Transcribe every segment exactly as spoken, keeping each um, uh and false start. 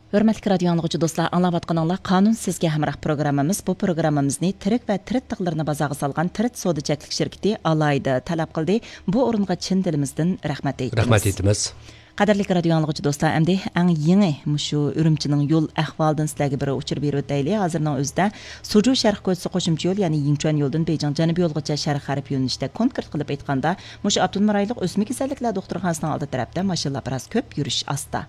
ھۆرمەتلىك رادىيو ئاڭلىغۇچى دوستلار، ئاڭلاۋاتقىنىڭلار قانۇن سىزگە ھەمراھ پروگراممىمىز. بۇ پروگراممىمىزنى تىرىك ۋە تىرىت تىغلىرىنى بازارغا سالغان تىرىت سودا چەكلىك شىركىتى ئالاھىدە تەلەپ قىلدى. بۇ ئورۇنغا چىن دىلىمىزدىن رەھمەت ئېيتىمىز. رەھمەت ئېيتىمىز. قەدىرلىك رادىيو ئاڭلىغۇچى دوستلار، ئەمدى ئەڭ يېڭى مۇشۇ ئۈرۈمچىنىڭ يول ئەھۋالىدىن سىلەرگە بىر ئۇچۇر بېرىۋېتەيلى. ھازىرنىڭ ئۆزىدە سۇجۇ شەرق كوچىسى قوشۇمچە يول، يەنى يىڭچۈەن يولىدىن بېيجىڭ جەنۇبىي يولغىچە شەرقىي غەرب يۆنىلىشىدە، كونكرېت قىلىپ ئېيتقاندا، مۇشۇ ئاپتونوم رايونلۇق ئۆسمە كېسەللىكلەر دوختۇرخانىسىنىڭ ئالدى تەرەپتە ماشىنىلار بىراز كۆپ، يۈرۈش ئاستا.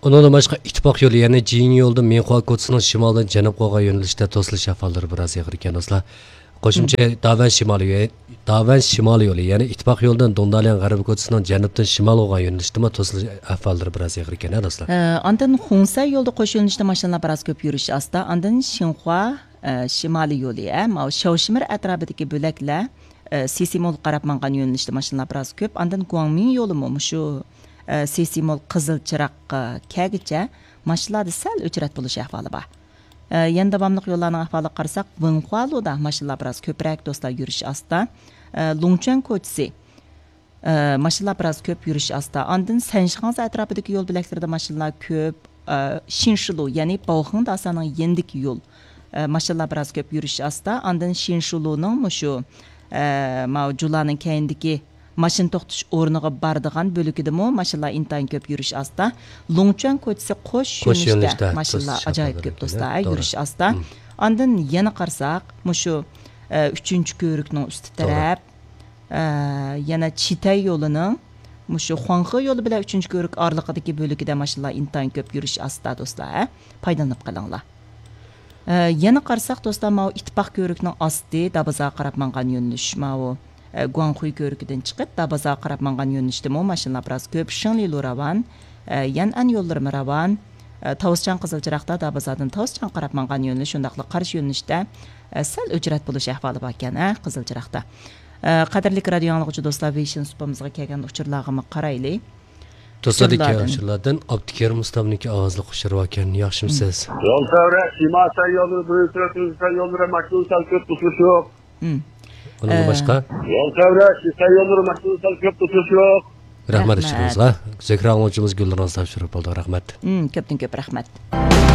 ئۇنىڭدىن باشقا، ئىتتىپاق يولى، يەنى جىنيۇ يولىدىن مىنخۇا كوچىسىنىڭ شىمالىدىن جەنۇبقا بولغان يۆنىلىشتە توسۇلۇش ئەھۋاللىرى بىراز ئېغىر ئىكەن، دوستلار. قوشۇمچە داۋەن شىمالىي يولى، داۋەن شىمالىي يولى، يەنى ئىتتىپاق يولىدىن دۇڭدالياڭ غەربىي كوچىسىنىڭ جەنۇبتىن شىمالغا بولغان يۆنىلىشتىمۇ توسۇلۇش ئەھۋاللىرى بىراز ئېغىر ئىكەن، ھە، دوستلار. ئە، ئاندىن خۇڭسەي يولىدا قوش يۆنىلىشتە ماشىنىلار بىراز كۆپ، يۈرۈش ئاستا. ئاندىن شىنخۇا، ئە، شىمالىي يولى، ئە، ماۋۇ شاۋشىمىر ئەتراپىدىكى بۆلەكلەر، ئە، سىسىمولغا قاراپ ماڭغان يۆنىلىشتە ماشىنىلار بىراز كۆپ. ئاندىن گۇاڭمىڭ يولىمۇ مۇشۇ، ئە، سىسىمول قىزىل چىراغقا كەلگۈچە ماشىنىلاردا سەل ئۆچرەت بولۇش ئەھۋالى بار. ئە، يەنە داۋاملىق يوللارنىڭ ئەھۋالىغا قارىساق، ۋېنخۇالۇدا ماشىنىلار بىراز كۆپرەك، دوستلار، يۈرۈش ئاستا. ئە، لۇڭچۈەن كوچىسى، ئە، ماشىنىلار بىراز كۆپ، يۈرۈش ئاستا. ئاندىن سەنشىخاڭزا ئەتراپىدىكى يول بۆلەكلىرىدە ماشىنىلار كۆپ. ئە، شىنشىلۇ، يەنى باۋخېڭ داسانىڭ يېنىدىكى يول، ئە، ماشىنىلار بىراز كۆپ، يۈرۈش ئاستا. ئاندىن شىنشىلۇنىڭ مۇشۇ، ئە، ماۋۇ جۇلانىڭ كەينىدىكى ماشىنا توختىتىش ئورنىغا بارىدىغان بۆلىكىدىمۇ ماشىنىلار ئىنتايىن كۆپ، يۈرۈش ئاستا. لۇڭچۈەن كوچىسى قوش قوش يۆنىلىشتە يۆنىلىشتە ماشىنىلار توسۇش ئاجايىپ ئەھۋاللىرى كۆپ، كۆرۈلگەن. دوستلار، ھە، توغرا. يۈرۈش ئاستا. مم. ئاندىن يەنە قارىساق، مۇشۇ، ئە، ئۈچىنچى كۆۋرۈكنىڭ ئۈستى توغرا. تەرەپ، ئە، يەنە چىتەي يولىنىڭ مۇشۇ خۇاڭخې يولى بىلەن ئۈچىنچى كۆۋرۈك ئارىلىقىدىكى بۆلىكىدە ماشىنىلار ئىنتايىن كۆپ، يۈرۈش ئاستا، دوستلار، ھە؟ پايدىلىنىپ قېلىڭلار. ئە، يەنە قارىساق، دوستلار، ماۋۇ ئىتتىپاق كۆۋرۈكنىڭ ئاستى دابازارغا قاراپ ماڭغان يۆنىلىش، ماۋۇ، ئە، گۇاڭخۇي كۆۋرۈكىدىن چىقىپ دابازارغا قاراپ ماڭغان يۆنىلىشتىمۇ ماشىنىلار بىراز كۆپ. شىڭلىلۇ راۋان، ئە، يەنئەن يوللىرىمۇ راۋان، ئە، تاۋۇسچاڭ قىزىل چىراغدا دابازاردىن تاۋۇسچاڭغا قاراپ ماڭغان يۆنىلىش، شۇنداقلا قارشى يۆنىلىشتە، ئە، سەل ئۆچرەت بولۇش ئەھۋالى باركەن، ھە، قىزىل چىراغدا. ئە، قەدىرلىك رادىيو ئاڭلىغۇچى دوستلار، ۋېيشىن سۇپىمىزغا كەلگەن ئۇچۇرلارغىمۇ قارايلى. دوستلاردىن كەلگەن ئۇچۇرلاردىن ئابدۇكېرىم ئۇستامنىڭكى ئاۋازلىق ئۇچۇرى باركەن، ياخشىمۇ سىز؟ يول چەۋرە، شىمال سەن يوللىرى، بىرىنچى تۈركىستان يوللىرى، ماشىنا سەل كۆپ توسۇلۇش يوق. مم. ئۇنىڭدىن ئە، باشقا؟ يول چەۋرە، شىسەن يوللىرى، ماشىنا سەل كۆپ توسۇلۇش يوق. رەھمەت رەھمەت. ئۇچۇرىڭىزغا. زۆھرە ئاڭلىغۇچىمىز گۈلنۇرىڭىز تاپشۇرۇپ بولدۇق. رەھمەت. مم، كۆپتىن كۆپ رەھمەت.